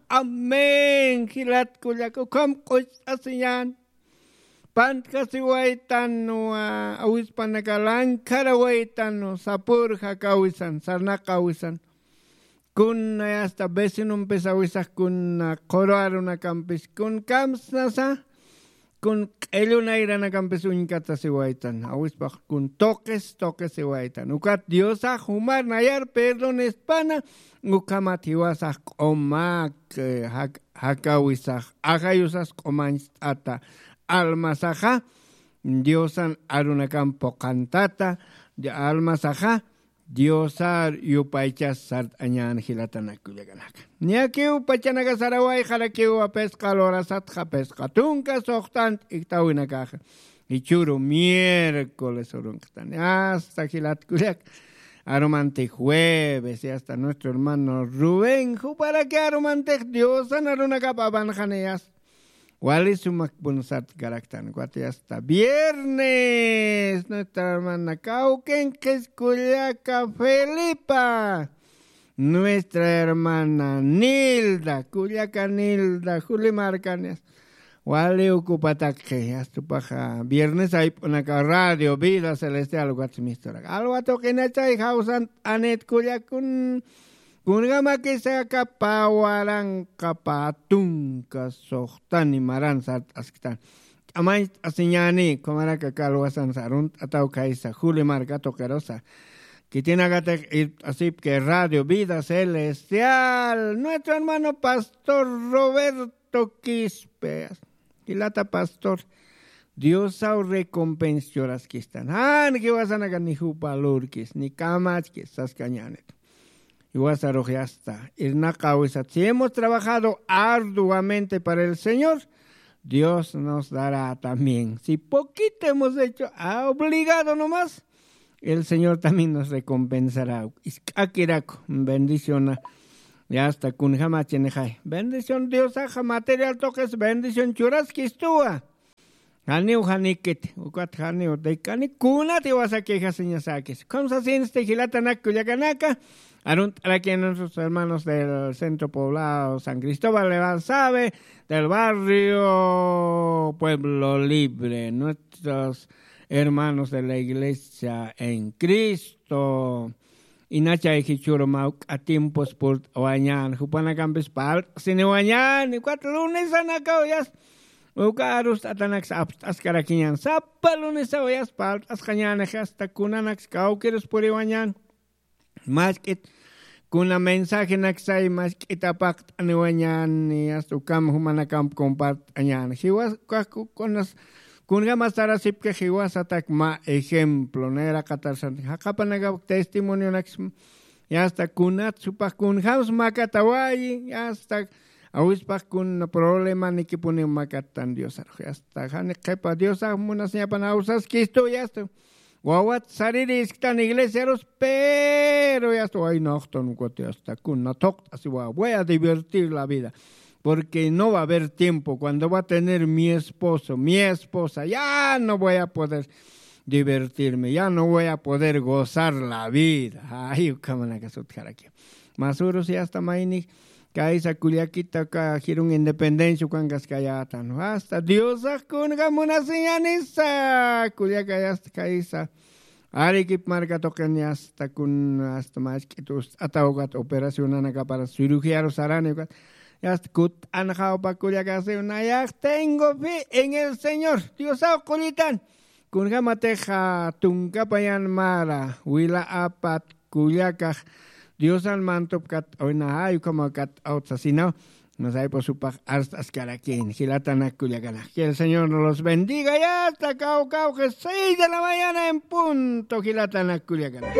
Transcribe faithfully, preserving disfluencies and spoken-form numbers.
Amén. Jilat kullaka ukham q'uch'asiñan. Pantkasiwaytan wa awispanaka lankarawaytan sapur jakawisan sarnaqawisan. Kuna yasta vecinompis awisax kuna quru arunakampis kun kamsnasa kun q'illunayranakampi suñkatasiwaytan awispax kun tuqis tuqisiwaytan ukat diosax jumar nayar perdonespana. Ukhamat jiwasax q'umak jakawisax ajayusas q'umancht'ata almasaxa diosan arunakamp puqantata almasaxa diosar yupaychas sart'añan jilatanak kullakanaka. Niyakiw pachanaka saraway jarakiw apisqa lurasatxa apisqa tunka suxtanta iktawinakaxa jichhuru miércoles urunqtani asta jilat kullak arumantix jueves y asta nuestro hermano rubén juparaki arumantix diosan arunakap apanxaniyas. Wali sumakpun sartkaraktan ukat asta viernes nuestra hermana kawkin qhiskullaka felipa nuestra hermana nilda kullaka nilda juli markanis wali ukupatakxi astupaxa viernes ayp'unaka radio vida celestial ukat misturak alwa tuqinachay jawsant'anit kullakun. Kunkamakisaka pawaranqa patunka suxtani maran sart'asktan t'amañcht'asiñani ukhamaraka kalwasan sarunt'ataw khaysa juli marka tuqirusa. Khitinakatix irpt'asipki radio vida celestial nuestro hermano pastor roberto quispe jilata pastor diosaw recompens churaskistan jan jiwasanaka ni jupa lurkis ni kamachkis saskañänit. Jiwasarux yasta irnaqawisat si hemos trabajado arduamente para el señor dios nos dará también si poquito hemos hecho obligado nomás el señor también nos recompensará. Isk'akiraku bendiciona yasta kunjamachinixay bendición diosaxa material tuqis bendición churaskistuwa. Janiw janikit ukat janiw taykani kunati wasa quejasiñasakis ukham sasinsti jilatanak kullakanaka. Arunt'arakiñan nuestros hermanos del centro poblado san cristóbal de basabe del barrio pueblo libre nuestros hermanos de la iglesia en cristo. Inachay jichhuru mawk'a tiempos purt'awañän jupanakampis parlt'siniwañän ukat lunesanakaw yasta uka arust'atanaksa apst'askarakiñän sapa lunesaw yasta parlt'asqañänix asta kunanaksa kawkirus puriwañän. Mask'it kuna mensajenaksay mask'it apaqt'aniwañän yasta ukam jumanakamp compart'añän jiwas ukax kunas kunjama sarasipki jiwasatak mä ejemplo nayraqatarsan jaqapanakap testimonionaks yasta kunat supax kunjams makatawayi yasta awispax kun problemanikipuniw makattan diosarux yasta jani qhipa diosax munasiñapan awsaskistu yasta wawat sariri isktan iglesiarus pero yasta waynaxtan ukat yasta kuna thuqt'asiwa voy a divertir la vida. Porque no va a haber tiempo cuando va a tener mi esposo mi esposa ya no voy a poder divertirme ya no voy a poder gozar la vida. Ay ukhamanakasutjaraki masurus yasta mayni kaysa kullakita ka jirun independencia ukankaskayatan hasta diosax kunka munasiñanisa kullaka yasta kaysa arikip marka tuqin yasta kun asta mask'it ust'ata ukat operacionanakapara cirugía rusarani ukat yasta kut'anxawpa kullakasiw nayax tengo fe en el señor diosaw qullitan. Kunjamatixa tunkapayan mara wila apat kullakax diosan mantup kat'awina jay ukhama kat'awt sasinaw. Masayp'u supax arst'askarakin jilatanak kullakanak que el señor nos los bendiga yasta kawkawqi seis de la mañana en punto jilatanak kullakanak.